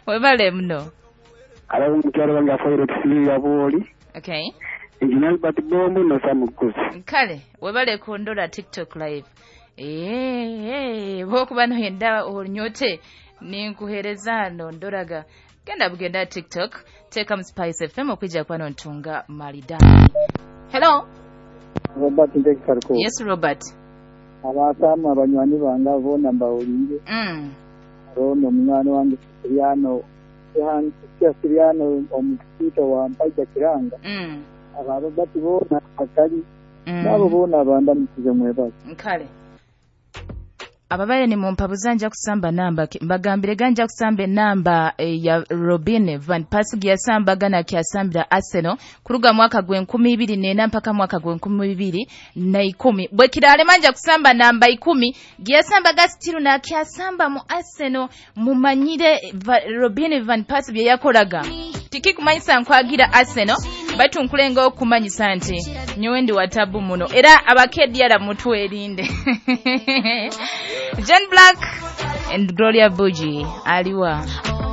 Webale muno. Alafu mukyalo wange afoire Silvia Bwoli, Okay. Engineer Albert Bombo na Sam Kuzi. Kale webale kundora TikTok live. Bwokuba noyenda onyote ninkuhereza hano ndoraga genda bugenda TikTok, teekamu Spice FM okwijja kuba nontunga maridadi. Hello. Robert Ntekikariko. Yes, Robert. Abasaamu abanywani bange boona mbawulire. Rono omunywani wange Siriano Siriano omukiito wa Mpaija Kiranga. Aba Robert boona akali. Nabo boona abandamukize mwebaze. Nkale. Ababaire ni mumpabuza nja kusamba namba, mbagambire ganja kusamba enamba ya Robin van Persie yasambaga nakyasambira Arsenal kuruga mwaka gwe 2004 mpaka mwaka gwe 2010. Bwe kiralema nja kusamba namba 10 giyasambaga still nakyasamba mu Arsenal. Mumanyire Robin van Persie bye yakoraga. Tikikumanyisa nkwagira Arsenal, baitu nkulenga okumanyisa nti nyowe ndi watabu muno era abakedyara mutwerinde. John Black and Gloria Bugie aliwa.